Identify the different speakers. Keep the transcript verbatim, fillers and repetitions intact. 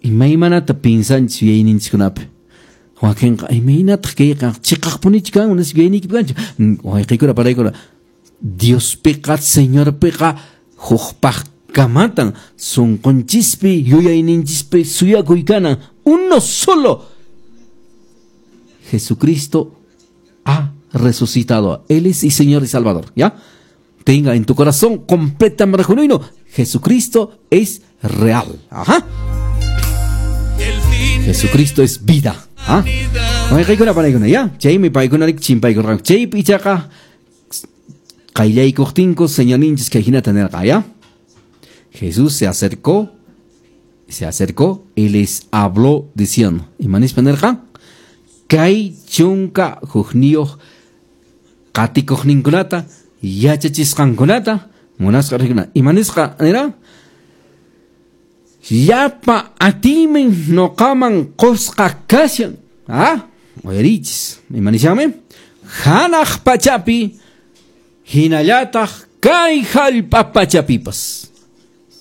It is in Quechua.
Speaker 1: Imaymanata pinsanchis yuyayninchikkunapi. Wakinqa imaynataq kayqa chiqaqpunichu kan nispa yuyayniykipi kanchu. Wayqiykuna panaykuna Diospiqa Señorpiqa hukpaqkamatan sunqunchispi yuyayninchispi suyakuy kanan uno solo. Jesucristo ha resucitado. Él es y Señor y Salvador, ¿ya? Tenga en tu corazón completamente genuino. Jesucristo es real. Ajá. Jesucristo es vida. ¿Ah? Wayqiykuna panaykuna, ya? Chaymi paykuna chimpaykurqanku. Chaypi ichaqa qayllaykuqtinku Señorninchis kay hinata nirqa, ¿ya? Jesús se acercó, se acercó y les habló diciendo, imanispa nirqa? Kay chunka hukniyuq qatikuqninkunata yachachisqankunata munasqa rikuna. Imanisqa nira? Llapa atiymi nuqaman qusqa kashan. Ah, uyarichis. Imanishanmi? Hanaq pachapi hinallataq kay hallp'a pachapipas.